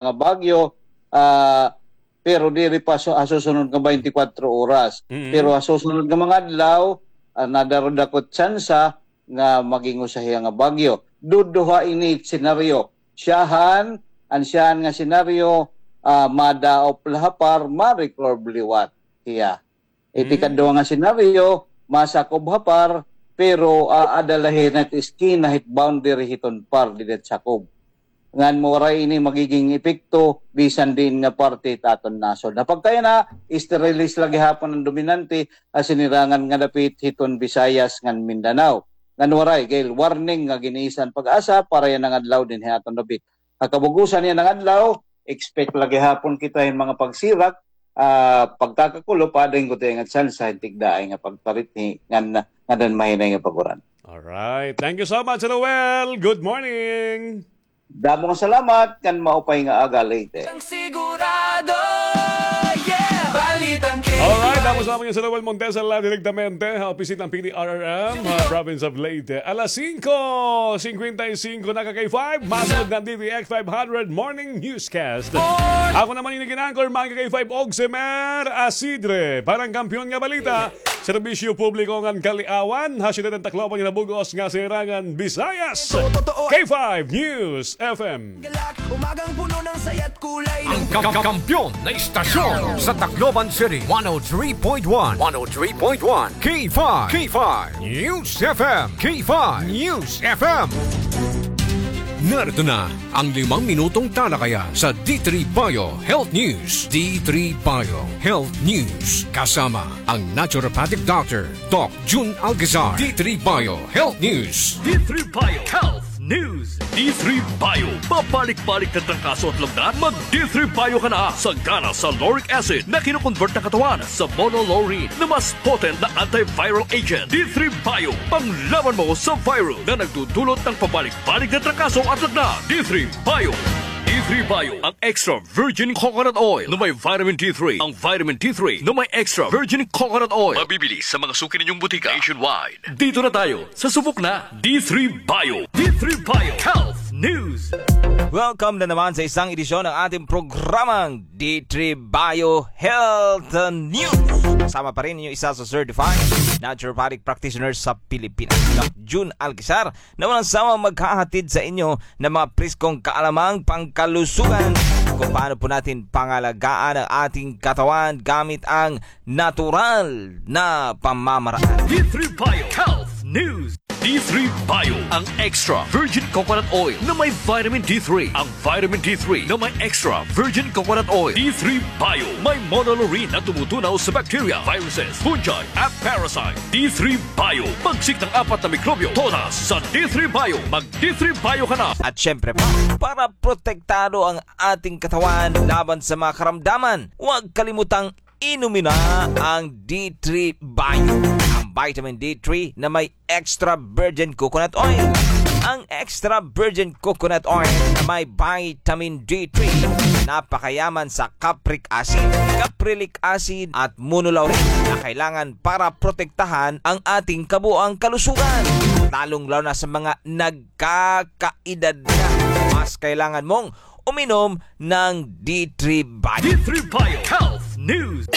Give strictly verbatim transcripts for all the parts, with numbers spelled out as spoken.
nga bagyo, ah, pero diri pa su-, ha susunod nga twenty-four oras. Mm. Pero ha susunod nga mga adlaw, ah, nadarudakot tsansa nga maging usa hiya nga bagyo. Duduha ini senaryo. Siyahan, an siyahan nga senaryo, ah, madaop la ha par, ma-recurve liwat hiya. Iti Mm. kaduha nga senaryo, masakob ha par, pero, ah, ada la hit eskina hit boundary hiton par dida hit sakob. Ngan waray ini magiging epekto bisan diin nga parte hit aton nasod. Ha pagkayana, easterlies la gihapon an dominante ha sinirangan nga dapit hiton Visayas ngan Mindanao. Ngan waray gihap warning nga gin-isa an PAGASA para yana nga adlaw dinhi ha aton dapit. Ha kabug-osan yana nga adlaw, expect la gihapon kita hin mga pagsirak, ah, pagkakakulop, ada hin gutiay nga tsansa hin tigdaay nga pagtarithi ngan, ngan mahinay nga pag-uran. Alright. Thank you so much, Noel. Good morning. Damo nga salamat, ngan maupay nga aga, Leyte. Ang sigurado, yeah! Balitang K T R. Alright, damo nga salamat, Noel Montesa, live direktamente ha opisina ng P D R R M, ha province of Leyte. Alas singko singkwenta y singko na, ka K five, masunod na D T X five hundred Morning Newscast. Ako naman ini ginangkor, mga ka K five, Ogsemer Asidre, para han Kampiyon nga Balita, serbisyo publiko ngan kaliawan, ha siyudad han Tacloban ngan ha bug-os nga Silangan Visayas. K five News F M. Galak, umagang puno ng saya't kulay ng Ang ka-, ka-, kampiyon na istasyon sa Tacloban City, one oh three point one, one oh three point one, K five, K five News F M, K five News F M. Narito na ang limang minutong talakayan sa D three Bio Health News. D three Bio Health News, kasama ang naturopathic doctor, Doc Jun Alcazar. D three Bio Health News. D three Bio Health News. D three Bio. Pabalik-balik na trangkaso at lagnat? Mag D three Bio ka na. Sagana sa lauric acid na kino-convert ng katawan sa monolaurin na mas potent na antiviral agent. D three Bio. Panglaban mo sa virus na nagdudulot ng pabalik-balik na trangkaso at lagnat. D three Bio. D three Bio. Ang extra virgin coconut oil na may vitamin D three. Ang vitamin D three na may extra virgin coconut oil. Mabibili sa mga suki ninyong butika nationwide. Dito na tayo sa subok na D three Bio. D three Bio Health News. Welcome na naman sa isang edisyon ng ating programang D three Bio Health News. Kasama pa rin inyo isa sa certified naturopathic practitioner sa Pilipinas, Doc Jun Alcazar, na walang sawang maghahatid sa inyo ng mga preskong kaalamang pangkalusugan kung paano po natin pangalagaan ang ating katawan gamit ang natural na pamamaraan. D three Bio Health News. D three Bio, ang extra virgin coconut oil na may vitamin D three. Ang vitamin D three na may extra virgin coconut oil. D three Bio, may monolaurin na tumutunaw sa bacteria, viruses, fungi, at parasite. D three Bio, pagsik ng apat na mikrobyo, todas sa D three Bio. Mag D three Bio ka na. At syempre pa, para protektado ang ating katawan laban sa mga karamdaman, huwag kalimutang inumin na ang D three Bio, ang vitamin D three na may extra virgin coconut oil. Ang extra virgin coconut oil na may vitamin D three, napakayaman sa capric acid, caprylic acid at monolaurin na kailangan para protektahan ang ating kabuang kalusugan, lalong-lalo na sa mga nagkakaedad na. Mas kailangan mong uminom ng D three Bio. D three Bio Health News.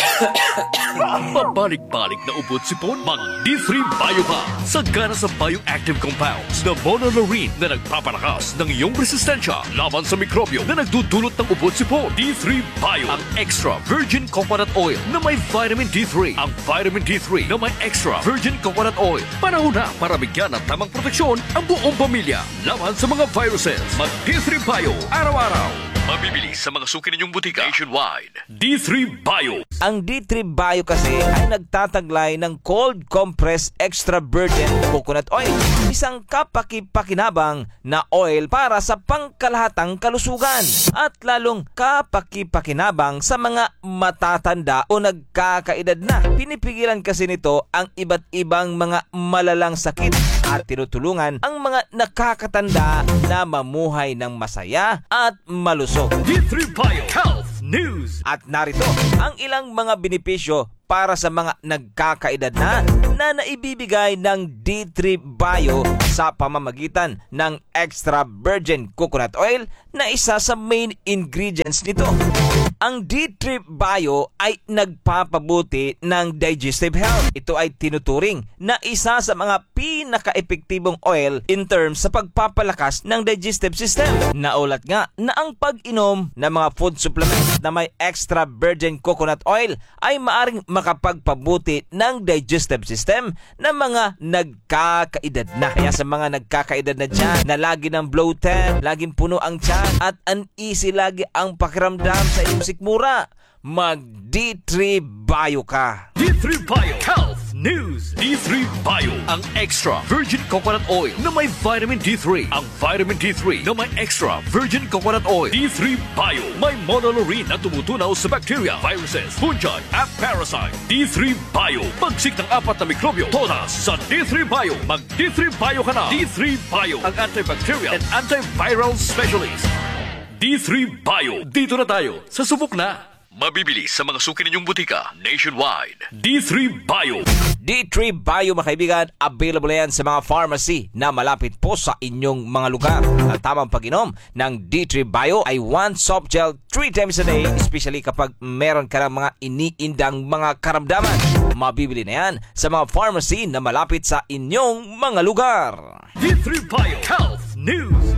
Pabalik-balik na ubo at sipon? Mag D three Bio ka. Sagana sa bioactive compounds na monolaurin na nagpapalakas ng iyong resistensya laban sa mikrobyo na nagdudulot ng ubo at sipon. D three Bio, ang extra virgin coconut oil na may vitamin D three. Ang vitamin D three na may extra virgin coconut oil. Panahon na para bigyan ng tamang proteksyon ang buong pamilya laban sa mga viruses. Mag D three Bio araw-araw. Mabibili sa mga suki ninyong butika nationwide. D three Bio. Ang D three Bio kasi ay nagtataglay ng cold compressed extra virgin coconut oil, isang kapaki-pakinabang na oil para sa pangkalahatang kalusugan at lalong kapaki-pakinabang sa mga matatanda o nagkakaedad na. Pinipigilan kasi nito ang iba't ibang mga malalang sakit at tinutulungan ang mga nakakatanda na mamuhay ng masaya at malusog. D three Bio Health News. At narito ang ilang mga benepisyo para sa mga nagkakaedad na, na naibibigay ng D three Bio sa pamamagitan ng extra virgin coconut oil na isa sa main ingredients nito. Ang D three Bio ay nagpapabuti ng digestive health. Ito ay tinuturing na isa sa mga pinaka-epektibong oil in terms sa pagpapalakas ng digestive system. Naulat nga na ang pag-inom ng mga food supplements na may extra virgin coconut oil ay maaring makapagpabuti ng digestive system ng mga nagkakaedad na. Kaya sa mga nagkakaedad na dyan, na lagi ng bloated, laging puno ang tiyan, at uneasy lagi ang pakiramdam sa inyong sikmura, mag D three Bio ka. D three Bio Health News. D three Bio, ang extra virgin coconut oil na may vitamin D three. Ang vitamin D three na may extra virgin coconut oil. D three Bio, may monolaurin na tumutunaw sa bacteria, viruses, fungi, at parasite. D three Bio, pagsik ng apat na mikrobyo, todas sa D three Bio. Mag D three Bio ka na. D three Bio, ang antibacterial and antiviral specialist. D three Bio, dito na tayo. Sa subok na. Mabibili sa mga suki ninyong butika nationwide. D three Bio. D three Bio, mga kaibigan, available na yan sa mga pharmacy na malapit po sa inyong mga lugar. Ang tamang pag-inom ng D three Bio ay one soft gel three times a day, especially kapag meron ka ng mga iniindang mga karamdaman. Mabibili na yan sa mga pharmacy na malapit sa inyong mga lugar. D three Bio Health News.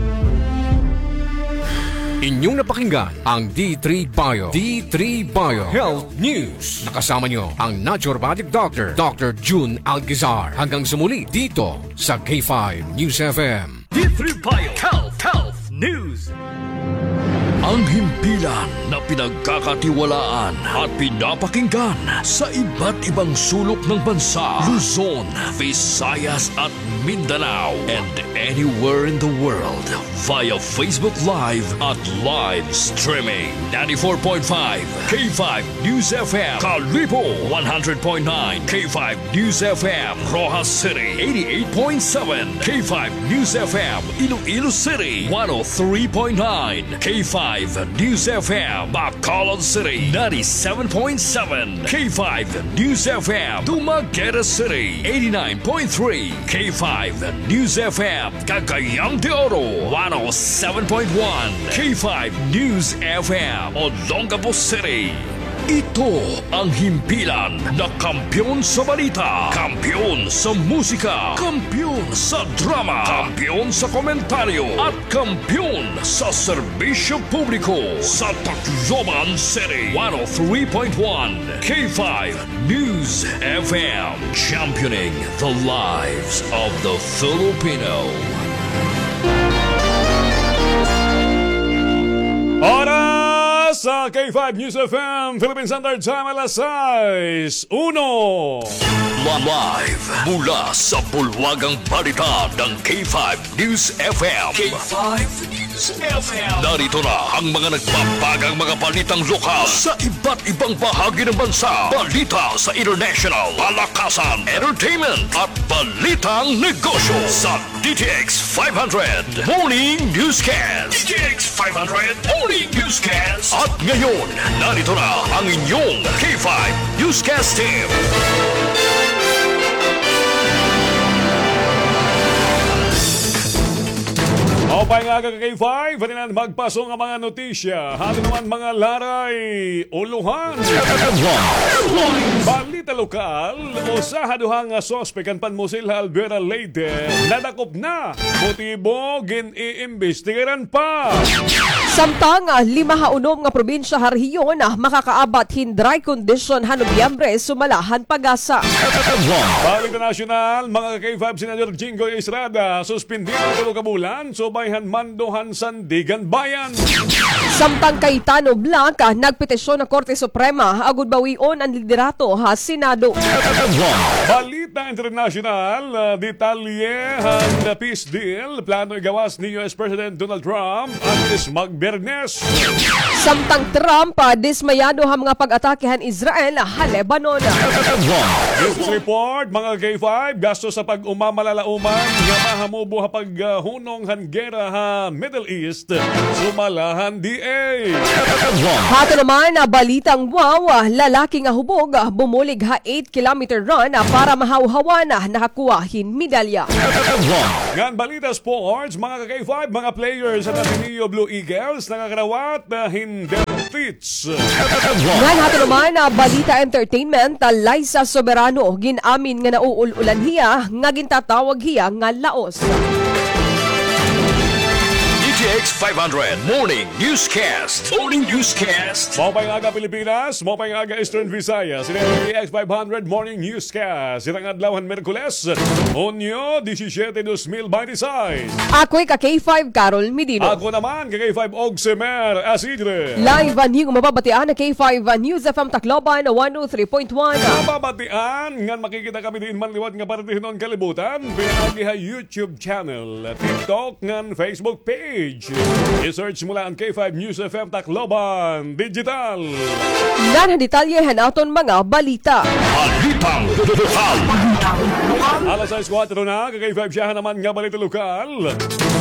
Inyong napakinggan ang D three Bio, D three Bio Health News. Nakasama nyo ang naturopathic doctor, Doctor Jun Alcazar. Hanggang sa muli dito sa K five News F M. D three Bio Health, Health News. Ang himpilan na pinagkakatiwalaan at pinapakinggan sa iba't ibang sulok ng bansa, Luzon, Visayas at Mindanao, and anywhere in the world via Facebook Live at live streaming. Ninety-four point five K five News F M, Kalibo, one hundred point nine K five News F M, Roxas City, eighty-eight point seven K five News F M, Iloilo City, one oh three point nine K five News F M, Bacolod City, ninety-seven point seven K five News F M, Dumaguete City, eighty-nine point three K five News F M, Cagayan de Oro, one oh seven point one K five News F M, Olongapo City. Ito ang himpilan na kampiyon sa balita, kampiyon sa musika, kampiyon sa drama, kampiyon sa komentaryo, at kampiyon sa serbisyo publiko sa Tacloban City. One oh three point one K five News F M, championing the lives of the Filipino. Oras sa K five News F M, Philippine Standard Time, alas sais uno. Live mula sa bulwagang balita ng K five News F M. K five News F M. Narito na ang mga nagbabagang mga balitang lokal sa iba't ibang bahagi ng bansa. Balita sa international, palakasan, entertainment, at balitang negosyo sa D T X five hundred Morning Newscast. D T X five hundred Morning Newscast. At ngayon, narito na ang inyong K five Newscast Team. Maupay nga aga, K five, hatinan magpaso nga mga notisya. Halo naman mga laray, ulohan. Balita lokal, usa ha duha nga suspek han panmusil ha Albuera, Leyte, nadakop na. Motibo, gin-iimbestigaran pa. Samtang, ah, lima ha unom nga probinsya ha rehiyon, ah, makakaabat hin dry condition ha Nobyembre, sumala han PAGASA. Balita nasyonal, mga K five, Senador Jinggoy Estrada, suspindido tulo ka bulan, subay han mando han Sandiganbayan. Samtang Cayetano Black, ah, nagpetisyon ha Korte Suprema, agod bawion an liderato ha Senado. Balita internasyonal, ah, detalye han peace deal, plano igawas ni U S President Donald Trump an mismag Biyernes. Samtang Trump, ah, dismayado ha mga pag-atake han Israel ha Lebanon. News report, mga K five, gasto sa pag-umamalalaoman nga mahamubo ha paghunong han gera ha Middle East, sumala han D A. Hato naman, ah, balitang wow, ah, lalaki nga hubog, ah, bumulig ha eight kilometer run, ah, para mahawhawan, ah, nakakuha hin medalya. Ngan balita sports, mga ka-K five, mga players han Ateneo Blue Eagles, nakakarawat, ah, hin depth. Ngan hato naman, ah, balita entertainment, ah, Liza Soberano, gin-amin nga nauul-ulan hiya, nga gintatawag hiya nga laos. D T X five hundred Morning Newscast. Morning Newscast. Maupay nga aga, Pilipinas. Maupay nga aga, Eastern Visayas. Ini an D T X five hundred Morning Newscast. Hit an adlaw han Miyerkules, Hunyo disisiyete, dos mil baynte sais. Ako hi ka-K five, Carol Medino. Ako naman, ka-K five, Ogsemer Asidre. Live an imo mababatian ha K five News F M Tacloban, one oh three point one. Mababatian ngan makikita kami diin man liwat nga parte hiton kalibutan, pinaagi ha YouTube channel, TikTok, ngan Facebook page. I-search mo la an K five News F M Tacloban Digital. Ngan ha detalye han aton mga balita. Balitang lokal. Alas sais kuwatro na, ka-K five, siyahan naman nga balita lokal.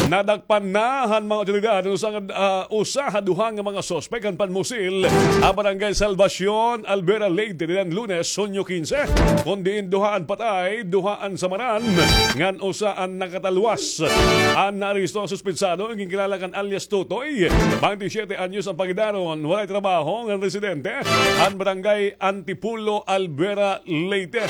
Nadakpan na han mga awtoridad an usa nga, ah, usa ha duha nga mga suspek han panmusil ha Barangay Salvacion, Albuera, Leyte, niyan Lunes, Hunyo kinse, kon diin duha an patay, duha an samaran, ngan usa an nakatalwas. An naaresto nga suspetsado, ginkilala kan alias Totoy, baynte siyete anyos an pangidaron, waray trabaho ngan residente han Barangay Antipulo, Albuera, Leyte.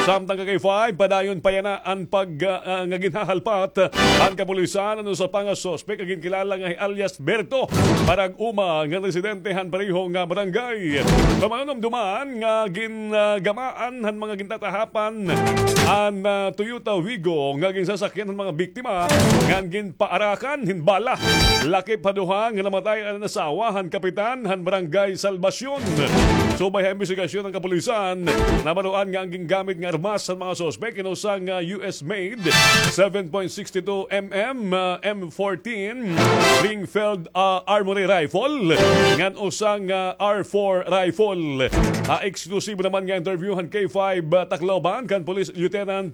Samtang, ka-K five, padayon pa yana an pag, ah, ah, nga ginhahalpat han kapulisan an usa pa nga suspek nga ginkilala nga hi alias Berto Barag-uma nga residente han pareho nga barangay. Pamahinumduman nga gingamaan han mga gintatahapan an, ah, Toyota Wigo nga ginsasakyan han mga biktima ngan ginpaarakan hin bala. Lakip ha duha nga namatay an asawa han kapitan han Barangay Salvacion. Subay ha imbestigasyon han kapulisan, nabaroan nga an gingamit nga armas han mga suspek in usa nga U S made seven point six two M M, ah, M fourteen ring-filled, ah, armory rifle ngan usa nga R four rifle. Ha eksklusibo naman nga interview han K five, ah, Tacloban kan Police Lieutenant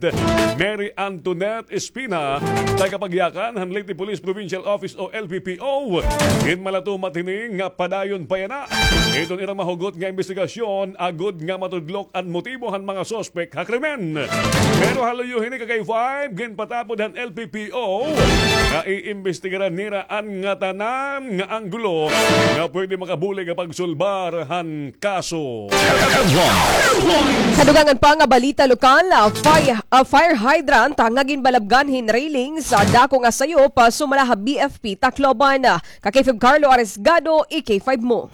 Mary Antoinette Espina, tagapagyakan han Leyte Police Provincial Office o L P P O, ginmalatumat hini nga padayon pa yana iton ira mahugot nga imbestigasyon agod nga matudlok an motibo han mga suspek ha krimen. Pero ha luyo hini, ka-K five, ginpatapod han L P P O nga iimbestigaran nira an ngatanan nga anggulo nga pwede makabulig ha pagsulbar han kaso. Sa dugangan pa nga balita lokal, ah, fire, ah, fire hydrant, ah, nga ginbalabgan hin railings, ah, dako nga sayop, ah, sumala ha B F P Tacloban. Ka-K five Carlo Arisgado, i-K five mo.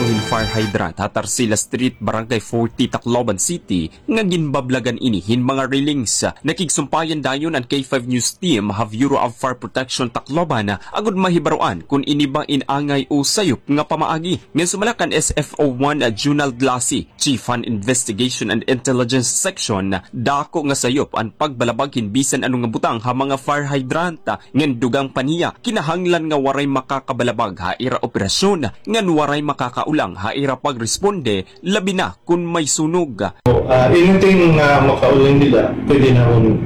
Uhin fire hydrant ha Tarsila Street, Barangay forty, Tacloban City, nga ginbablagan ini hin mga railings. Nakigsumpayan dayon an K five News Team ha Bureau of Fire Protection Tacloban agod mahibaroan kon ini ba in angay o sayop nga pamaagi. Ngan sumala kan S F O one Junald Lasi, Chief han Investigation and Intelligence Section, dako nga sayop an pagbalabag hin bisan ano nga butang ha mga fire hydrant, ngan dugang pa niya, kinahanglan nga waray makakabalabag ha ira operasyon, ngan waray makakaulang ha ira pagresponde, labi na kon may sunog. Ah, anything nga makaulang nila, pwede namon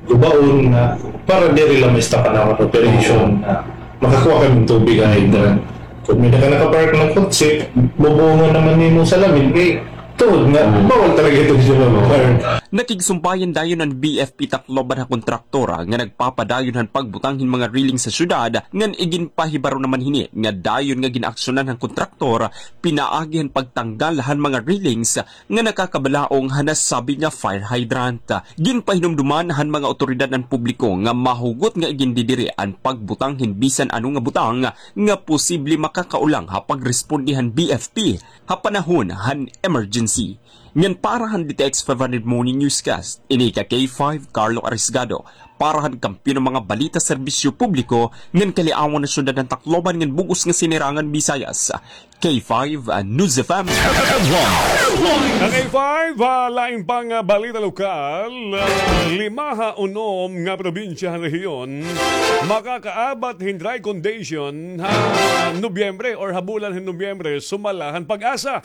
gubaon nga para diri la ma-stop an amon operation, nga makakuha kami hin tubig ha hydrant. Kon may-ada ka nakapark nga kotse, bubungon naman nimo sa lamin, kay tuod nga bawal talaga ito sa mga park. Nakigsumpayan dayon an B F P Tacloban ha kontraktor nga nagpapadayon han pagbutang hin mga railing sa syudad, ngan iginpahibaro naman hini nga dayon nga gin-aksyonan han kontraktor pinaagi han pagtanggal han mga railings nga nakakabalaong ha nasabi nga fire hydrant. Ginpahinumduman han mga awtoridad an publiko nga mahugot nga igindidiri an pagbutang hin bisan ano nga butang nga posible makakaulang ha pagresponde han B F P ha panahon han emergency. Ngan para han D T X five hundred Morning Newscast, ini ka K five Carlo Arisgado, para han Kampiyon nga mga Balita, Serbisyo Publiko, ngan Kaliawan nga Syudad han Tacloban ngan bug-os nga Sinirangan Visayas, K five, ah, News F M. Ang K five, ah, lain pang, ah, balita lokal, ah, lima ha unom nga probinsya han rehiyon makakaabat hin dry condition ha Nobyembre or ha bulan hin Nobyembre, sumala han PAGASA.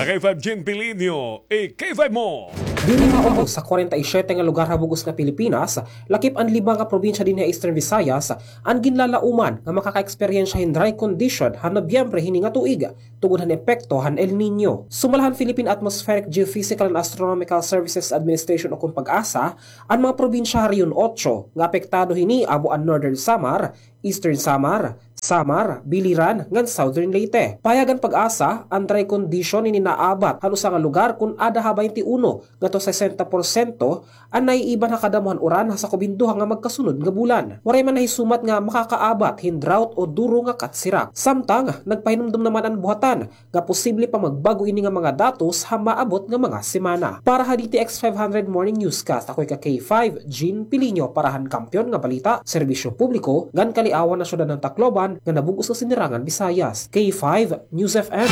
Ang K five, Jean Pilinio, i-K five mo. Diri maubos sa kwarenta y siyete nga lugar ha bug-os nga Pilipinas, lakip an lima nga probinsya dinhi ha Eastern Visayas, an ginlalauman nga makaka-eksperyensya hin dry condition han Nobyembre hini nga tuig, tungod han epekto han El Niño. Sumala han Philippine Atmospheric, Geophysical and Astronomical Services Administration o kon PAGASA, an mga probinsya ha Rehiyon Otso nga apektado hini amo an Northern Samar, Eastern Samar, Samar, Biliran, ngan Southern Leyte. Pahayag han PAGASA, an dry condition ini naabat han usa nga lugar kon ada ha baynte uno ngadto sesenta porsyento an naiiban ha kadamo han uran ha sakob hin duha nga magkasunod nga bulan. Waray man nahisumat nga makakaabat hin drought o duro nga katsirak. Samtang, nagpahinumdom naman an buhatan nga posible pa magbag-o ini nga mga datos ha maabot nga mga semana. Para ha D T X five hundred Morning Newscast, ako ika K five, Jean Piliño, para han Kampiyon nga Balita, Serbisyo Publiko, ngan Kaliawan ha Syudad han Tacloban, ngan ha bug-os nga Sinirangan Visayas. K five News F M.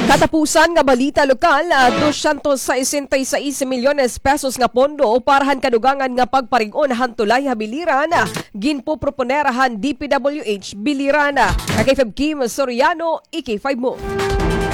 Katapusan nga balita lokal, ah, dosyentos sesenta y seis milyones pesos nga pondo para han kadugangan nga pagparig-on han tulay ha Biliran, ah, ginpoproponer han D P W H Biliran. Ka K five Kim Soriano, i K five mo.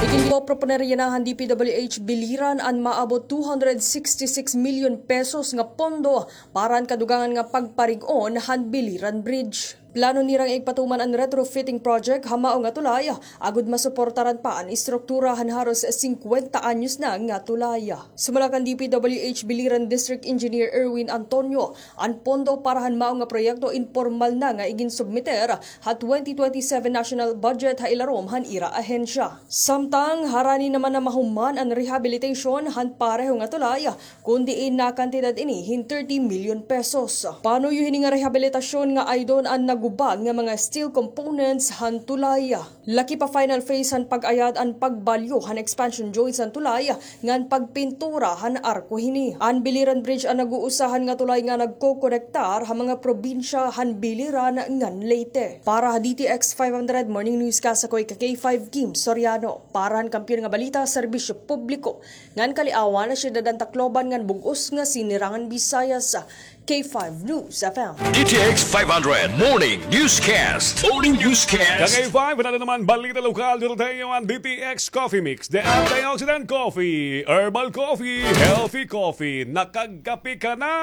Iginpoproponer yana han D P W H Biliran an maabot two hundred sixty-six million pesos nga pondo para han kadugangan nga pagparig-on han Biliran Bridge. Plano nira nga igpatuman an retrofitting project ha mao nga tulay, agod masuportaran pa an istruktura han haros singkwenta anyos na nga tulay. Sumala kan D P W H Biliran District Engineer Erwin Antonio, an pondo para han mao nga proyekto impormal na nga iginsubmiter ha twenty twenty-seven national budget ha ilarom han ira ahensya. Samtang, harani naman na mahuman an rehabilitation han pareho nga tulay, kon diin nakantidad ini hin thirty million pesos. Panuyo hini nga rehabilitasyon nga aydon an nagubad nga mga steel components han tulay. Lakip pa final phase han pag-ayad an pagbalyo han expansion joints han tulay ngan pagpintura han arko hini. An Biliran Bridge an nag-uusahan nga tulay nga nagkokonektar ha mga probinsya han Biliran ngan Leyte. Para ha D T X five hundred Morning Newscast, ako ika K five Kim Soriano. Para han Kampiyon nga Balita, Serbisyo Publiko, ngan Kaliawan ha Syudad han Tacloban ngan bug-os nga Sinirangan Visayas, K five News F M. D T X five hundred Morning Newscast. Morning Newscast. Ka K five, ano naman balita lokal, dito tayo an D T X Coffee Mix. The Antioxidant Coffee, Herbal Coffee, Healthy Coffee. Nakagkape ka na,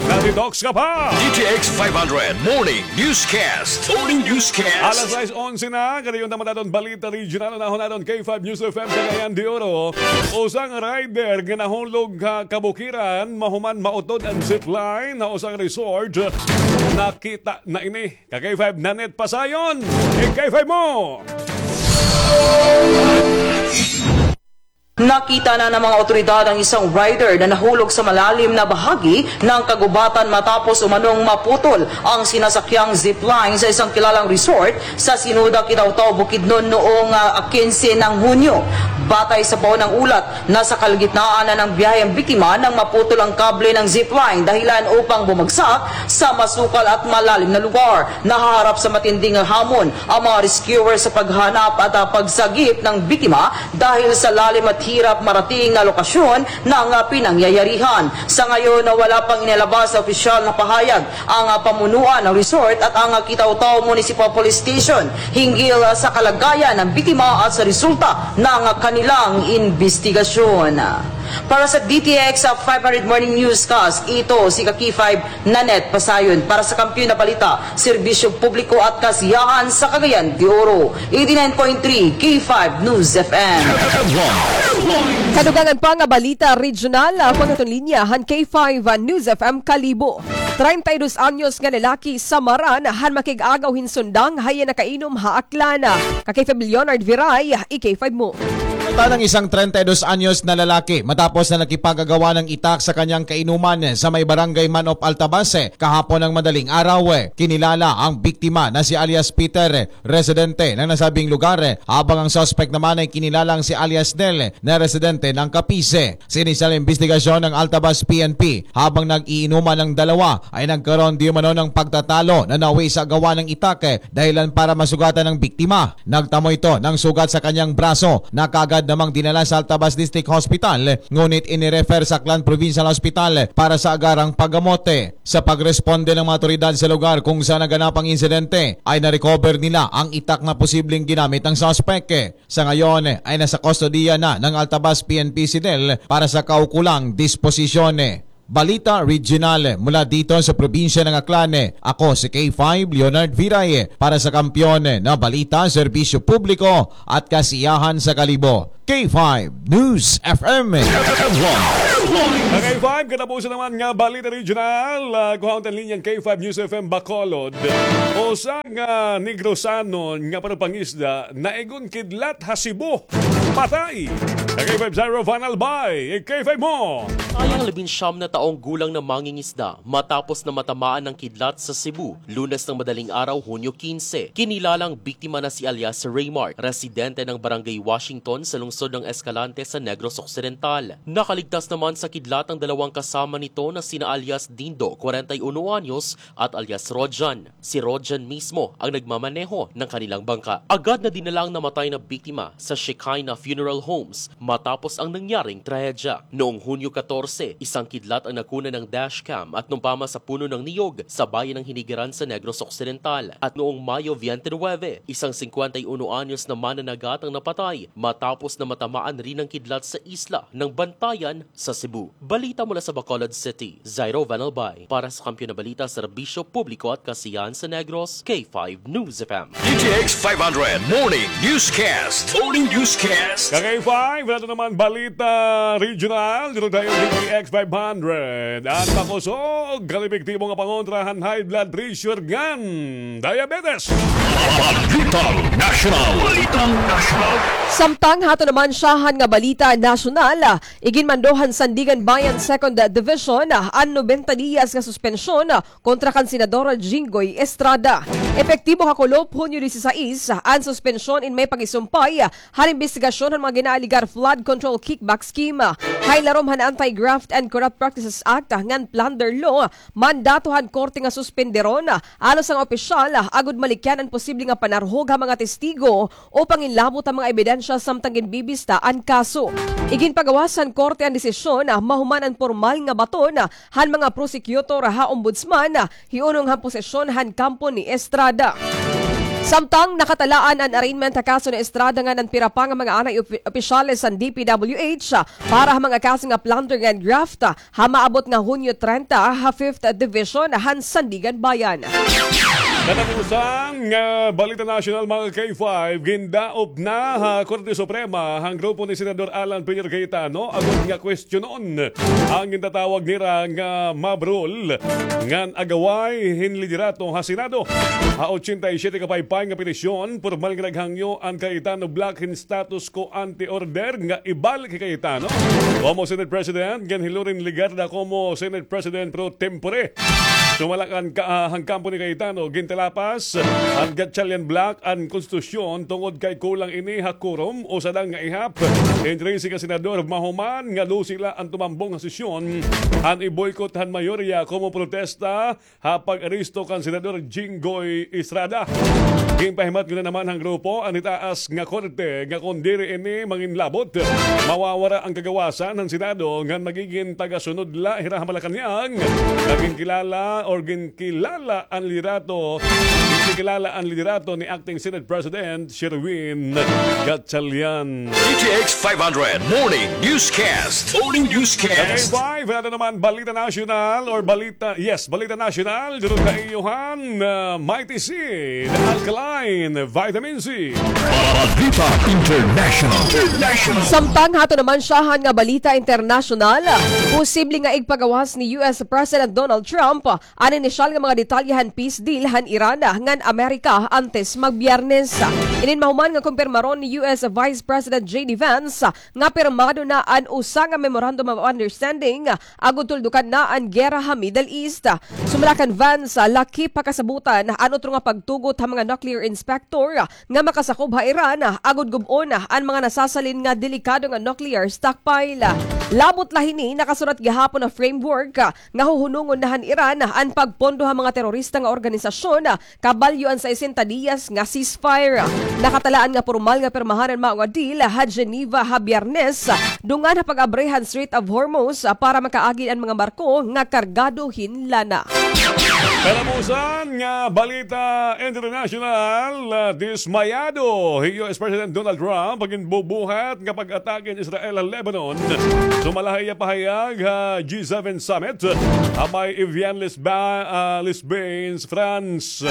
na-detox ka pa. D T X five hundred Morning Newscast. Morning Newscast. Alas sais onse na, kadayon ta man aton balita regional, unahon naton K five News F M Cagayan de Oro. Usa nga rider nga nahulog ha kabukiran, mahuman mautod an zipline ha usa nga resort. Nakita na ini. Ka K five Nanette Pasayon, i K five mo. Nakita na ng mga awtoridad ang isang rider na nahulog sa malalim na bahagi ng kagubatan matapos umanong maputol ang sinasakyang zipline sa isang kilalang resort sa Sinuda, Kitaotao, Bukidnon noong, ah, kinse ng Hunyo. Batay sa paunang ulat, nasa kalagitnaan na ng biyahe ang biktima nang maputol ang kable ng zipline, dahilan upang bumagsak sa masukal at malalim na lugar. Nahaharap sa matinding hamon ang mga rescuer sa paghanap at, ah, pagsagip ng biktima dahil sa lalim at hirap marating na lokasyon ng, ah, pinangyayarihan. Sa ngayon, wala pang inilabas na opisyal na pahayag ang, ah, pamunuan ng resort at ang, ah, Kitaotao Municipal Police Station hinggil, ah, sa kalagayan ng biktima at sa resulta ng, ah, kanilang imbestigasyon. Para sa D T X, ah, five hundred Morning Newscast, ito si Kaki five Nanette Pasayon. Para sa Kampiyon na Balita, Serbisyo Publiko at Kasiyahan sa Cagayan de Oro, eighty-nine point three K five News F M. Kadugangan pa nga balita regional, ah, pangaton linya han K five, ah, News F M Kalibo. Treinta y dos anyos nga lalaki samaran han makig-agaw hin sundang ha iya nakainom ha Aklan. Ka K five Leonard Viray, i K five mo. Tan ang isang treinta y dos anyos na lalaki matapos na nakipag-agawan ng itak sa kanyang kainuman sa may barangay Manop, Altabase, kahapon ng madaling araw. Kinilala ang biktima na si alias Peter, residente ng nasabing lugar, habang ang suspect naman ay kinilalang si alias Nel na residente ng Capiz. Sa inisyal na imbestigasyon ng Altabas P N P, habang nag-iinuman ang dalawa ay nagkaroon di umano ng pagtatalo na nauwi sa gawa ng itak, dahilan para masugatan ang biktima. Nagtamo ito ng sugat sa kanyang braso na kaagad namang dinala sa Altabas District Hospital, ngunit inirefer sa Aklan Provincial Hospital para sa agarang paggamot. Sa pagresponde ng mga awtoridad sa lugar kung saan naganap ang insidente, ay na-recover nila ang itak na posibleng ginamit ng suspek. Sa ngayon ay nasa kustodiya na ng Altabas P N P CIDEL para sa kaukulang disposisyon. Balita Regional mula dito sa probinsya ng Aklan. Ako si K five Leonard Viray para sa Kampiyon na Balita, Serbisyo Publiko at Kasiyahan sa Kalibo. K five News F M. K five, katapusan naman nga Balita Regional, ah, kuhaon ta an linya han K five News F M Bacolod. Usa nga Negrosanon nga pagpangisda naigon kidlat ha Cebu. Patay. K five Zyro Van Albay, K five mo. Patay ang labinsyam na taong gulang na mangingisda matapos na matamaan ng kidlat sa Cebu, Lunes ng madaling araw, Hunyo kinse. Kinilalang biktima na si alias Raymart, residente ng Barangay Washington sa lungsod ng Escalante sa Negros Occidental. Nakaligtas naman sa kidlat ang dalawang kasama nito na sina alias Dindo, kwarenta y uno anyos, at alias Rojan. Si Rojan mismo ang nagmamaneho ng kanilang bangka. Agad na dinala ang namatay na biktima sa Shekinah Funeral Homes matapos ang nangyaring trahedya. Noong Hunyo katorse, isang kidlat ang nakunan ng dashcam at numpama sa puno ng niyog sa bayan ng Hinigiran sa Negros Occidental. At noong Mayo twenty-nine, isang singkwenta y uno anyos na mananagat ang napatay matapos na matamaan rin ng kidlat sa isla ng Bantayan sa Cebu. Balita mula sa Bacolod City, Zairo Van Albay. Para sa Kampiyon na Balita, Serbisyo Publiko at Kasiyahan sa Negros, K five News F M. D T X five hundred Morning Newscast. Morning Newscast. Ka K five, wala naman balita regional. Dito tayo, D T X five hundred. At makusog, kalipiktibo nga pangontra han high blood pressure ngan diabetes. Balitang National. Balitang National. Samtang hato naman syahan nga balita nasyonal, iginmando han Sandiganbayan Second Division an nobenta diyas nga suspensyon kontra kan Senador Jinggoy Estrada. Epektibo ha kulop, Hunyo disisais, an suspensyon in may pag-isumpay han imbestigasyon han mga ginaaligar flood control kickback scheme. Ha ilarom han Anti-Graft and Corrupt Practices Act ngan Plunder Law, mandato han korte nga suspenderon an usa nga opisyal agod malikyan an posible nga panarhog ha mga testigo o panginlabot ha mga ebidensya samtang ginbibista an kaso. Iginpagawas han korte an desisyon mahuman an pormal nga baton han mga prosecutor ha ombudsman, hiunong han posisyon han kampo ni Estrada. Samtang nakatalaan an arraignment ha kaso ni Estrada ngan an pira pa nga mga anay opi-, opisyales han D P W H para ha mga kaso nga plunder ngan graft ha maabot nga Hunyo trenta ha Fifth Division han Sandiganbayan. Katapusan nga balita nasyonal, mga K five, gindaop na ha Korte Suprema han grupo ni Senador Alan Peter Cayetano agod nga kwestiyonon an gintatawag nira nga mob rule ngan agaway hin liderato ha Senado. Ha ochenta y siete ka paypay nga petisyon, pormal nga naghangyo an Cayetano bloc hin status quo ante order nga ibalik hi Cayetano komo Senate President ngan hi Loren Legarda komo Senate President pro tempore. Sumala kan ka-, ah, han kampo ni Cayetano, gintalapas han Gatchalian bloc an konstitusyon tungod kay kulang ini ha quorum, usa lang nga ihap hin trese ka senador mahuman nga dose la an tumambong ha sesyon han i-boycott han mayorya komo protesta ha pag-aresto kan Senador Jinggoy Estrada. Ginpahimatngon na naman han grupo an itaas nga korte nga kon diri ini manginlabot, mawawara an kagawasan han Senado ngan magigin tagasunod la hira ha Malacañang. Nga ginkilala or ginkilala an liderato, ginkilala an liderato ni Acting Senate President Sherwin Gatchalian. D T X five hundred Morning Newscast. Morning Newscast. K five, wala naman balita nasyonal or balita, yes, balita nasyonal. Durog na iyohan, uh, Mighty Seed, Alkaline Vitamin C. Balita International. International. Samtang hato naman syahan nga balita internasyonal, posible nga igpagawas ni U S President Donald Trump an inisyal nga mga detalye han peace deal han Iran ngan Amerika antes magBiyernes. Inin mahuman nga kumpirmaron ni U S Vice President J D Vance nga pirmado na an usa nga Memorandum of Understanding agod tuldukan na an giyera ha Middle East. Sumala kan Vance, lakip ha kasabotan an utro nga pagtugot ha mga nuclear inspector nga makasakob ha Iran agod gub-on an mga nasasalin nga delikado nga nuclear stockpile. Labot la hini, nakasurat gihapon ha framework nga huhunongon na han Iran an an pagpondo ha mga terorista nga organisasyon, kabalyo an sesenta diyas nga ceasefire. Nakatalaan nga pormal nga pirmahan an mao nga deal ha Geneva ha Biyernes, dungan ha pag-abri han Strait of Hormuz, ah, para makaagi an mga barko nga kargado hin lana. Katapusan nga balita international, ah, dismayado hi U S President Donald Trump pag-inbubuhat nga pag-atake hin Israel ha Lebanon. Sumala ha iya pahayag ha G seven Summit, ah, ha may Evian-les-Ba-, ah, les Bains, France.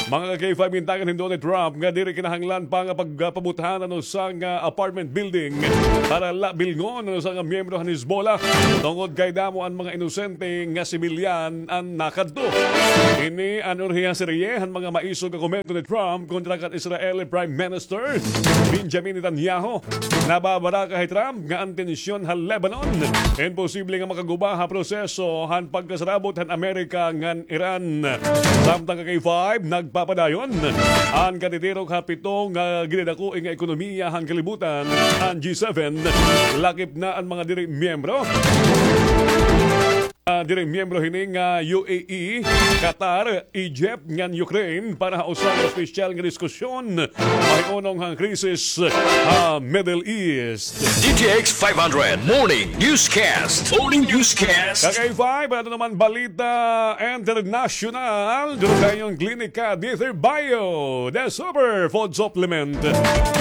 Mga ka-K five, gintagan hin Donald Trump nga diri kinahanglan pa nga pagpabuthan an usa nga apartment building para la bilngon an usa nga miyembro han Hezbollah, tungod kay damo an mga inosente nga sibilyan an nakadto. Ini an urhiya serye han mga maisog nga komento ni Trump kontra kan Israeli Prime Minister Benjamin Netanyahu. Nababaraka hi Trump nga an tensyon ha Lebanon imposible nga makaguba ha proseso han pagkasarabot han Amerika ngan Iran. Samtang ka-K five, nagpapadayon an katitirok ha pito nga ginadako nga ekonomiya han kalibutan, an G seven, lakip na an mga diri miyembro. Ah, diri miyembro hini nga U A E, Qatar, Egypt, ngan Ukraine para ha usa nga espesyal nga diskusyon mahiunong han krisis ha Middle East. D T X five hundred Morning Newscast. Morning Newscast. Ka-K five, ato naman balita international. Duro kay an Klinika D three Bio, the super food supplement.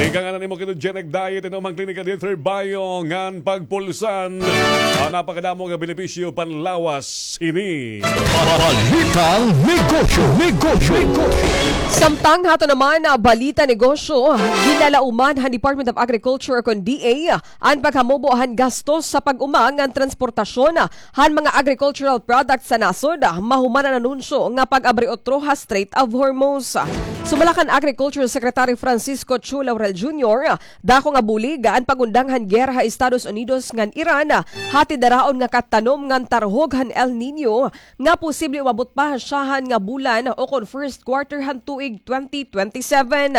Ika nga na nimo ketogenic diet, inom an Klinika D three Bio ngan pagpulsan. Ah, napakadamo nga benepisyo panlawas ini. Balitang negosyo, negosyo, negosyo. Samtang ha aton naman, ah, balita negosyo, ginlalauman han Department of Agriculture kon D A an paghamubo han gastos sa pag-uma ngan transportasyon han mga agricultural products sa nasod, mahuman an anunsyo nga pag-abri utro ha Strait of Hormuz. Sumala kan Agriculture Secretary Francisco Chu Laurel Junior, dako nga bulig an pag-undang han giyera ha Estados Unidos ngan Iran, hatid daraon nga katanom ngan tarhog han El Niño nga posible umabot pa ha syahan nga bulan o kon first quarter han tuig twenty twenty-seven.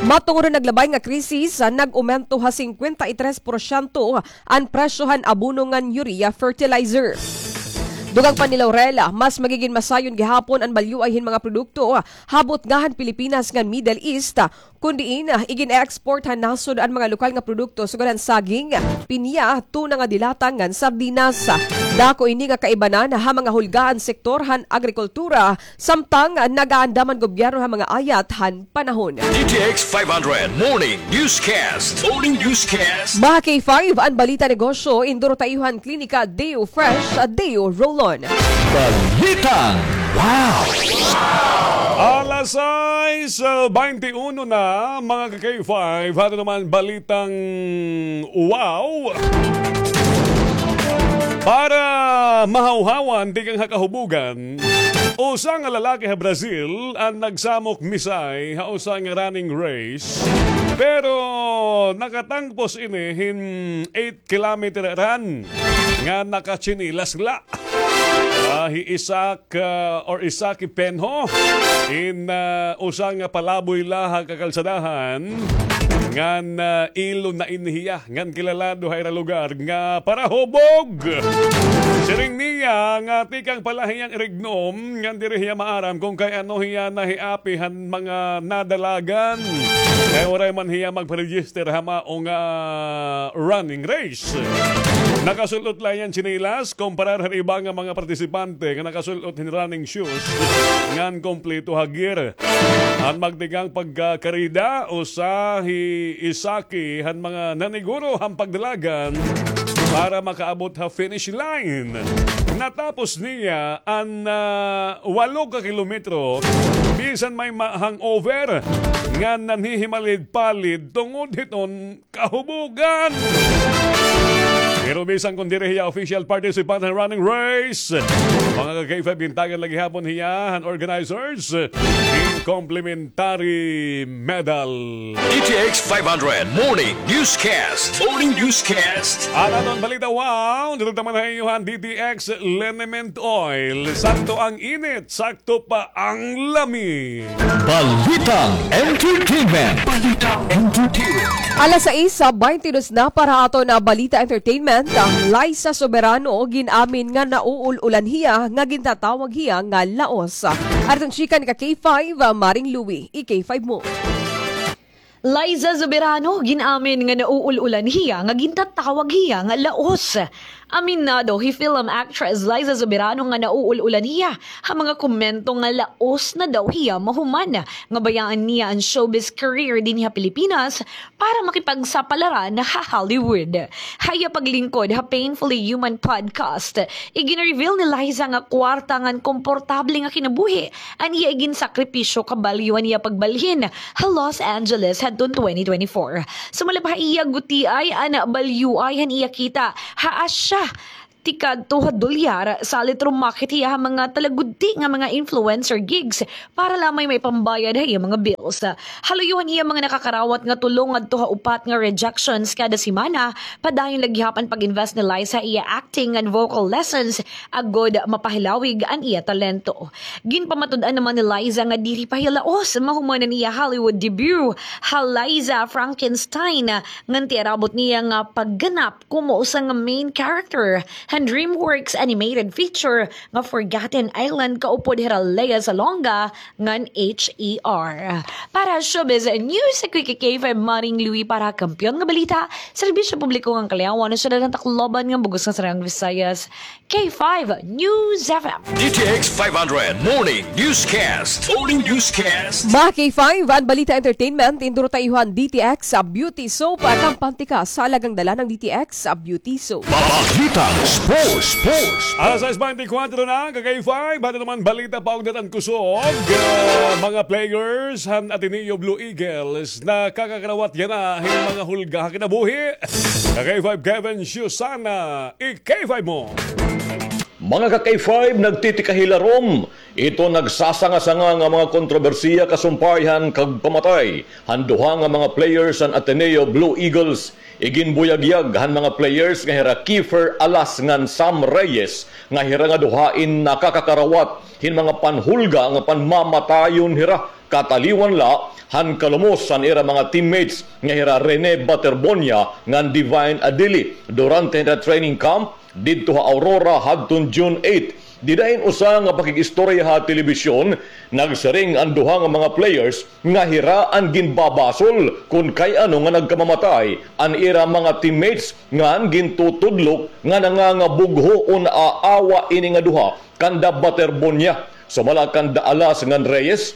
Matungod han naglabay nga krisis, nag-umento ha singkwenta y tres porsyento an presyo han abono ngan urea fertilizer. Dugang pa ni Laurel, mas magigin masayon gihapon an balyuay hin mga produkto ha butnga han Pilipinas ngan Middle East, kon diin igin-export han nasod an mga lokal nga produkto sugad han saging, pinya, tuna nga dilata ngan sardinas. Dako ini nga kaibanan ha mga hulga han sektor han agrikultura, samtang nag-aandam an gobyerno ha mga ayat han panahon. D T X five hundred Morning Newscast. Morning Newscast. Mga K five, an balita negosyo, induro ta iyo han Klinika Deo Fresh, Deo Roll-On. Balitang wow! Alas sais, ah, baynte uno na, mga ka-K five, ato naman balitang wow. Para mahawhawan tikang ha kahubogan, usa nga lalaki ha Brazil an nagsamok misay ha usa nga running race, pero nakatangpos ini hin eight kilometer run nga nakatsinilas la. Ah, hi Isaac, ah, or Isaac Penho, in, ah, usa nga palaboy la ha kakalsadahan, ngan, ah, ilo na ini hiya, ngan kilalado ha ira lugar nga parahubog. Siring niya nga tikang pa la hiya hin Irignom, ngan diri hiya maaram kon kay ano hiya nahiapi han mga nadalagan. Kay waray man hiya magpa-register ha mao nga running race. Nakasul-ot la hiya hin tsinelas, kumparar han iba nga mga partisipante nga nakasul-ot hin running shoes ngan kompleto ha gear. An magtikang pagkakarida, usa hi Isaki han mga naniguro han pagdalagan para makaabot ha finish line. Natapos niya an, ah, walo ka kilometro bisan may ma-, hangover nga nanhihimalid-palid tungod hiton kahubogan. Pero bisan kon diri hiya official participant han running race, mga ka-K five, gintagan la gihapon hiya han organizers hin complimentary medal. D T X five hundred Morning Newscast. Morning Newscast. An aton balita, wow, didto man ha iyo han D T X Liniment Oil. Sakto ang init, sakto pa ang lami. Balitang entertainment. Balitang entertainment. Alas sais sa baynte dos na para aton nga balita entertainment. Liza Soberano gin-amin nga nauul-ulan hiya nga gintatawag hiya nga laos. Aton chika ni ka K five, Maring Louie, i K five mo. Liza Soberano gin-amin nga nauul-ulan hiya nga gintatawag hiya nga laos. Aminado hi film actress Liza Soberano nga nauul-ulan hiya ha mga komento nga laos na daw hiya mahuman nga bayaan niya an showbiz career dinhi ha Pilipinas para makipagsapalaran ha Hollywood. Ha iya paglingkod ha Painfully Human podcast, igin-reveal ni Liza nga kwarta ngan komportable nga kinabuhi an iya iginsakripisyo kabalyo an iya pagbalhin ha Los Angeles hadton twenty twenty-four. Sumala pa ha iya gutiay an balyuay han iya kita ha asya tikadto ha dolyar, salit rumakit hiya ha mga talagudti nga mga influencer gigs para lamay maipambayad ha iya mga bills. Ha luyo han iya mga nakakarawat nga tulo ngadto ha upat nga rejections kada semana, padayon la gihap an pag-invest ni Liza ha iya acting ngan vocal lessons agod mapahilawig an iya talento. Ginpamatud-an naman ni Liza nga diri pa hiya laos mahuman an iya Hollywood debut ha Liza Frankenstein, ngan tiarabot niya nga pagganap komo usa nga main character han DreamWorks animated feature nga Forgotten Island kaupod hira Lea Salonga ngan H E R. Para showbiz news, ako hi K five Maring Louie para Kampiyon nga Balita, Serbisyo Publiko ngan Kaliawan, Syudad han Tacloban ngan bug-os nga Sariang Visayas, K five News F M. D T X five hundred Morning Newscast. Morning Newscast. Mga K five, an balita entertainment, induro ta iyo han D T X sa Beauty Soap, kampante ka sa alagang dala ng D T X sa Beauty Soap. Balitang sports, sports. Alas sais baynte kwatro na, ka K five, aton naman balita paugnat han kusog, ah, mga players han Ateneo Blue Eagles nakakakarawat yana hin mga hulga ha kinabuhi. Ka K five Kevin Susana, i K five mo. Mga ka K five, nagtitikahilarom ito nagsasanga-sanga nga mga kontrobersiya kasumpay han kagpamatay han duha nga mga players han Ateneo Blue Eagles. Iginbuyagyag han mga players nga hira Kiefer Alas ngan Sam Reyes nga hira nga duha in nakakakarawat hin mga panhulga nga panmamatayon hira kataliwan la han kalumos han ira mga teammates nga hira Rene Baterbonia ngan Divine Adili durante han training camp didto ha Aurora hadton June eight. Dida hin usa nga pakig-istorya ha telebisyon, nagsiring an duha nga mga players nga hira an ginbabasol kon kay ano nga nagkamamatay an ira mga teammates ngan gintutudlok nga nangangabugho o naaawa ini nga duha kanda Baterbonia. Sumala kanda Alas ngan Reyes,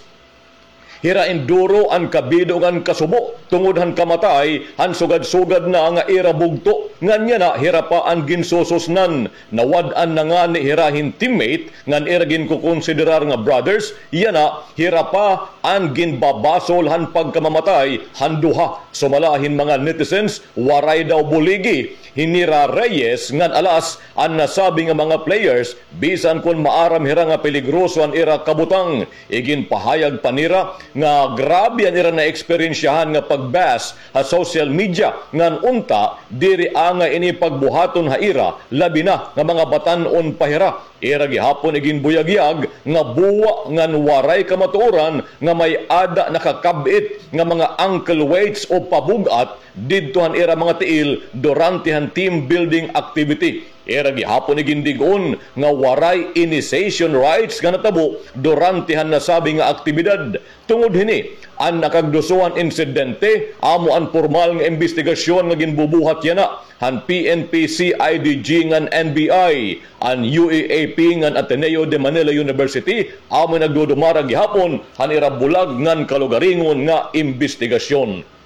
hira in duro an kabido ngan kasubo tungod han kamatay han sugad-sugad na nga ira bugto, ngan yana hira pa an ginsususnan. Nawad-an na ngani hira hin teammate ngan ira ginkokonsiderar nga brothers, yana hira pa an ginbabasol han pagkamamatay han duha. Sumala hin mga netizens, waray daw buligi hi nira Reyes ngan Alas an nasabi nga mga players, bisan kon maaram hira nga peligroso an ira kabutang. Iginpahayag pa nira nga grabe an ira naeksperyensyahan nga pag-bash ha social media, ngan unta diri angay ini pagbuhaton ha ira, labi na nga mga batan-on pa hira. Ira gihapon iginbuyagyag nga buwa ngan waray kamatuoran nga may-ada nakakab-it nga mga ankle weights o pabug-at didto han ira mga tiil durante han team building activity. Ira gihapon igindig-on nga waray initiation rites nga natabo durante han nasabi nga aktibidad. Tungod hini, an nakagduso han insidente amo an pormal nga imbestigasyon nga ginbubuhat yana han P N P, C I D G ngan N B I. An U A A P ngan Ateneo de Manila University amo nagdudumara gihapon han ira bulag ngan kalugaringon nga imbestigasyon.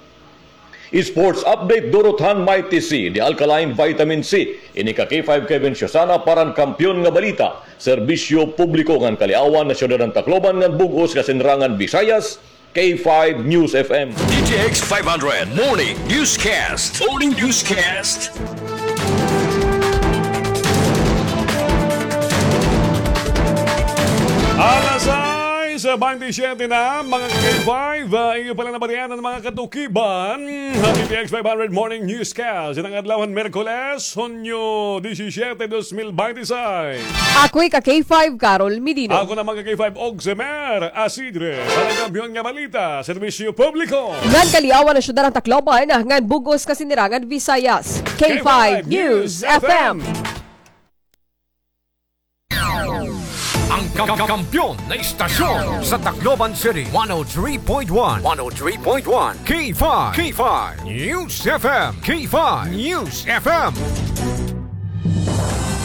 Sports update, durot han Mighty C, the alkaline vitamin C. Ini ka K five Kevin Susana para han Kampiyon nga Balita, Serbisyo Publiko ngan Kaliawan, Syudad han Tacloban ngan bug-os nga Sinrangan Visayas, K five News F M. D T X five hundred Morning Newscast. Morning Newscast. Alas sais Sa twenty-seven na, mga K five, ah, inyo pala nabatian an mga katukiban. Happy P X five hundred Morning Newscast. Itong adlaw han Miyerkules, Hunyo disisiete, dos mil binte y seis. Ako'y ka K five, Carol Medino. Ako naman ka K five, Oximer Asidre. Para kampiyon nga balita, serbisyo publiko. Ngan kaliawan han syudad han Tacloban, ngan bug-os nga sinirangan Visayas. K five News F M. Ang ka-, kampiyon na istasyon sa Tacloban City, one oh three point one, one oh three point one, K five, K five News F M, K five News F M.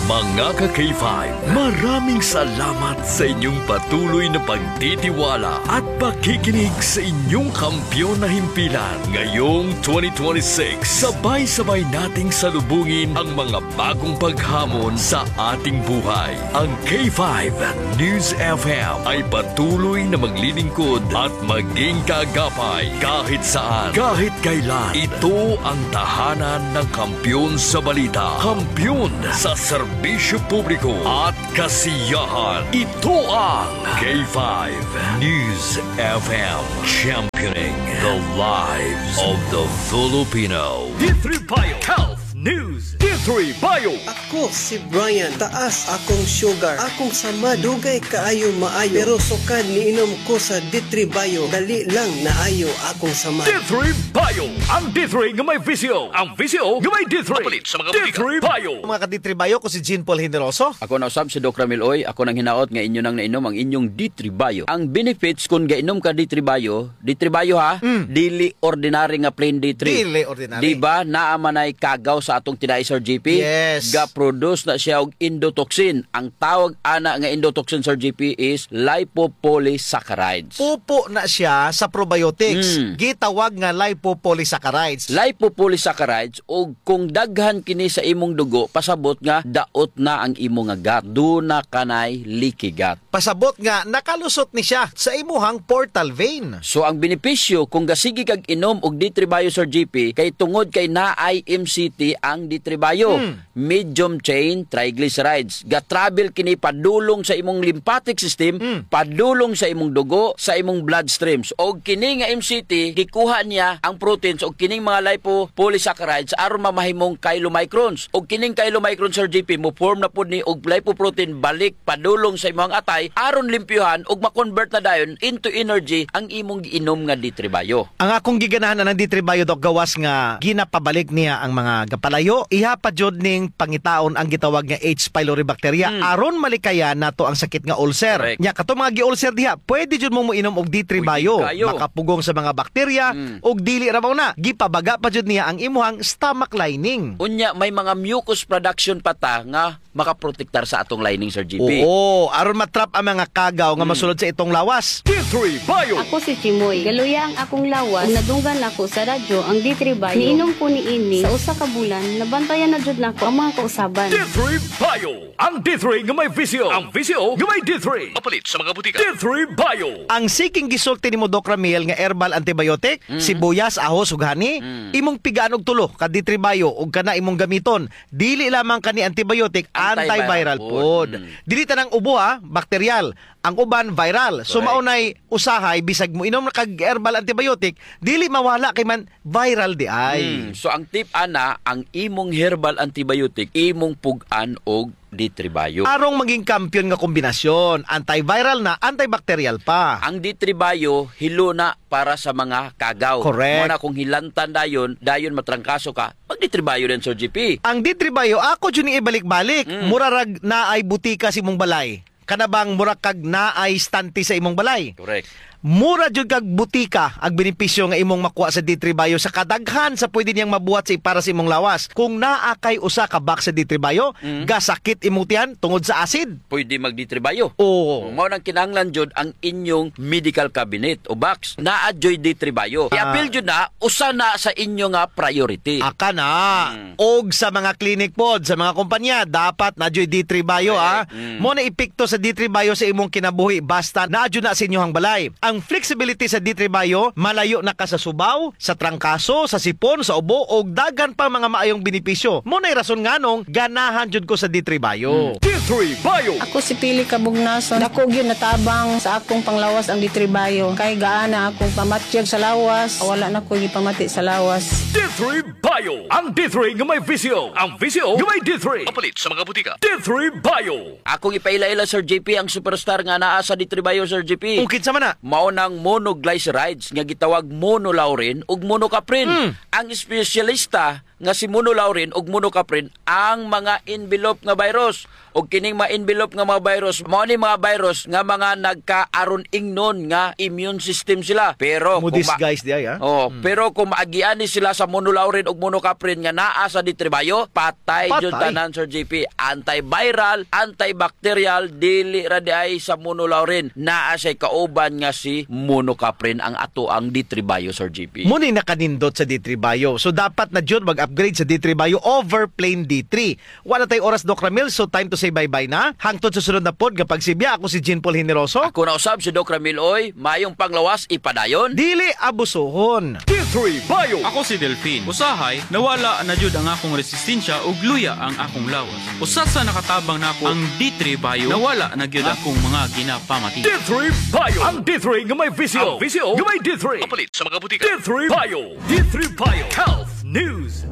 Mga ka-K five, maraming salamat sa inyong patuloy na pagtitiwala at pakikinig sa inyong kampiyon na himpilan. Ngayong twenty twenty-six, sabay-sabay nating salubungin ang mga bagong paghamon sa ating buhay. Ang K five News F M ay patuloy na maglilingkod at maging kaagapay kahit saan, kahit kailan. Ito ang tahanan ng kampiyon sa balita, kampiyon sa serbisyo publiko at kasiyahan. Ito ang K five News F M, championing the lives of the Filipino. D three Bio Health News. D three Bio. Ako si Brian, taas akong sugar. Akong samad, dugay kaayo maayo. Pero sukad niinom ko sa D three Bio, dali lang naayo akong samad. D three Bio, ang D three nga may V C O. Ang V C O nga may D three. Mapalit sa mga botika. D three Bio. Mga ka-D three Bio, ko si Jean Paul Generoso. Ako na usab si Doc Ramil Uy. Ako nang hinaot nga inyo nang nainom ang inyong D three Bio. Ang benefits kun gainom ka D three Bio, D three Bio ha, mm, dili ordinary nga plain D three. Dili ordinary. Di ba, naa man ay kagaw sa atong tinai, Sir G P? Yes. Ga-produce na siya og endotoxin. Ang tawag ana nga endotoxin, Sir G P, is lipopolysaccharides. Pupo na siya sa probiotics. Mm. Gitawag nga lipopolysaccharides. Lipopolysaccharides, ug kung daghan kini sa imong dugo, pasabot nga daot na ang imo nga gut. Duna kanay leaky gut. Pasabot nga nakalusot ni siya sa imuhang portal vein. So, ang benepisyo kung gasigi kag inom og D three Bio, Sir G P, kay tungod kay naay M C T ang D three Bio. Hmm. Medium chain triglycerides. Ga-travel kini padulong sa imong lymphatic system, hmm, padulong sa imong dugo, sa imong bloodstreams. Og kini nga M C T, gikuha niya ang proteins og kining mga lipopolysaccharides aron mamahimong chylomicrons. Og kining chylomicrons, Sir G P, mo-form na pud ni og lipoprotein balik padulong sa imong atay aron limpyuhan ug ma-convert na dayon into energy ang imong giinom nga D three Bio. Ang akong giganahan anang D three Bio, Doc, gawas nga ginapabalik niya ang mga gapalayo. Iha pa jud ning pangitaon ang gitawag nga H. pylori bacteria. Hmm. Aron malikayan nato ang sakit nga ulcer. Correct. Nya, kato mga gi-ulcer diha, pwede jud mo moinom og D three Bio. Pwede kayo. Makapugong sa mga bakterya, hmm, ug dili ra mao na, gipabaga pa jud niya ang imuhang stomach lining. Unya, may mga mucus production pa ta nga makaprotektar sa atong lining, Sir G P. Oo, aron ma-trap ang mga kagaw nga, hmm, masulod sa itong lawas. D three Bio. Ako si Chimoy. Galuya ang akong lawas. Ug nadunggan ako sa radyo ang D three Bio. Niinom ko niini sa usa ka bulan, nabantayan na jud nako ang mga kausaban. D three Bio. Ang D three nga may V C O. Ang V C O nga may D three. Mapalit sa mga butika. D three Bio. Ang sige nga gisulti nimo, Doc Ramil, nga herbal antibiotic, mm, sibuyas, ahos, ug honey, mm, imong pigaan og tulo ka D three Bio ug kana imong gamiton. Dili lamang kani antibiotic, antiviral, antiviral pod. Mm. Dili tanang ubo, ha, bakteryal. Ang uban, viral. So, correct, mao nay usahay, bisag moinom na kag herbal antibiotic, dili mawala kay man viral diay. Mm. So, ang tip ana, ang imong herbal antibiotic, imong pug-an og D three Bio. Arong maging kampiyon nga kombinasyon, antiviral na, antibacterial pa. Ang D three Bio, hilo na para sa mga kagaw. Correct. Mao na kung hilantan dayon, dayon matrangkaso ka, mag-D three Bio din, Sir G P. Ang D three Bio, ako jud ni ibalik-balik. Mm. Mura rag naay butika sa imong balay. Kana bang mura kag naay stante sa imong balay? Correct. Mura jud kag butika ang benepisyo nga imong makuha sa D three Bio sa kadaghan sa pwede niyang mabuhat sa para sa imong lawas. Kung naa kay usa ka box sa D three Bio, mm, gasakit imong tiyan tungod sa acid. Pwede mag D three Bio. Oo. Mao nang kinahanglan jud ang inyong medical cabinet o box. Naa juy D three Bio. Ah. I-apil jud na, usa na sa inyo nga priority. Aka na. Mm. Og sa mga clinic pod, sa mga kumpanya, dapat na juy D three Bio, ah. Correct. Mm. Mao na epekto sa D three Bio sa imong kinabuhi, basta naa jud na sa inyohang balay. Ang flexibility sa D three Bio, malayo na ka sa Subao, sa trangkaso, sa sipon, sa ubo, ug daghan pang mga maayong benepisyo. Mao nay rason nganong ganahan jud ko sa D three Bio. D three Bio. Ako si Pili Kabugnason. Dako gyud natabang sa akong panglawas ang D three Bio. Kay gaana akong pamatyag sa lawas, wala na ko gipamati sa lawas. D three Bio. Ang D three nga may V C O. Ang V C O nga may D three. Mapalit sa mga butika. D three Bio. Akong ipaila-ila, Sir J P, ang superstar nga naa sa D three Bio, Sir J P. O, kinsa man na? Mao nang monoglycerides nga gitawag monolaurin ug monocaprin. Mm. Ang espesyalista nga si monolaurin ug monocaprin ang mga envelope nga virus. Ug kining mga envelope nga mga virus, mao ni mga virus nga mga nagkaaron ingnon nga immune system sila. Pero kung ma- Mo-disguise di ay, ha? Oh, Mm. pero kung maagian ni sila sa monolaurin ug monocaprin nga naa sa D three Bio, patay jud Patay. tanan, Sir J P. Antiviral, antibacterial, dili ra di ay sa monolaurin. Naa siya'y kauban nga si monocaprin ang ato ang D three Bio, Sir J P. Mao ni nakanindot sa D three Bio. So, dapat na jud mag-upgrade sa D three Bio over plain D three. Wala tay oras, Doc Ramil, so time to say bye-bye na. Hangtod sa sunod na pod nga pagsibya, ako si Jean Paul Generoso. Ako na usab si Doc Ramil, oy. Mayong panglawas, ipadayon. Dili abusuhon. D three Bio. Ako si Delfin. Usahay, nawala na jud ang akong resistensya ug luya ang akong lawas. Usa sa nakatabang nako ang D three Bio. Nawala na gyud akong mga ginapamati. D three Bio. Ang D three nga may V C O. Ang V C O nga may D three. Mapalit sa mga butika. D three Bio. D three Bio Health News.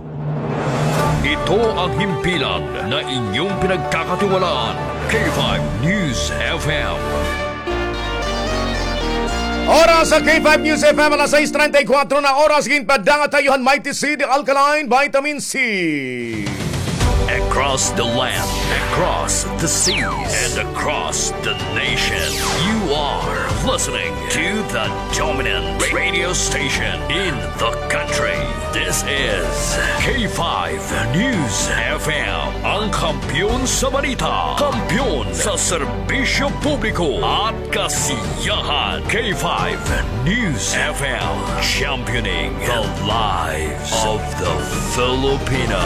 Ito ang himpilan na inyong pinagkakatiwalaan, K five News F M. Oras sa K five News F M, alas sais treinta y cuatro na oras. Ginpadanga tayo han Mighty Seed Alkaline Vitamin C. Across the land, across the seas, and across the nation, you are listening to the dominant radio station in the country. This is K five News F M, ang kampiyon sa balita, kampiyon sa serbisyo publiko at kasiyahan. K five News F M, championing the lives of the Filipino.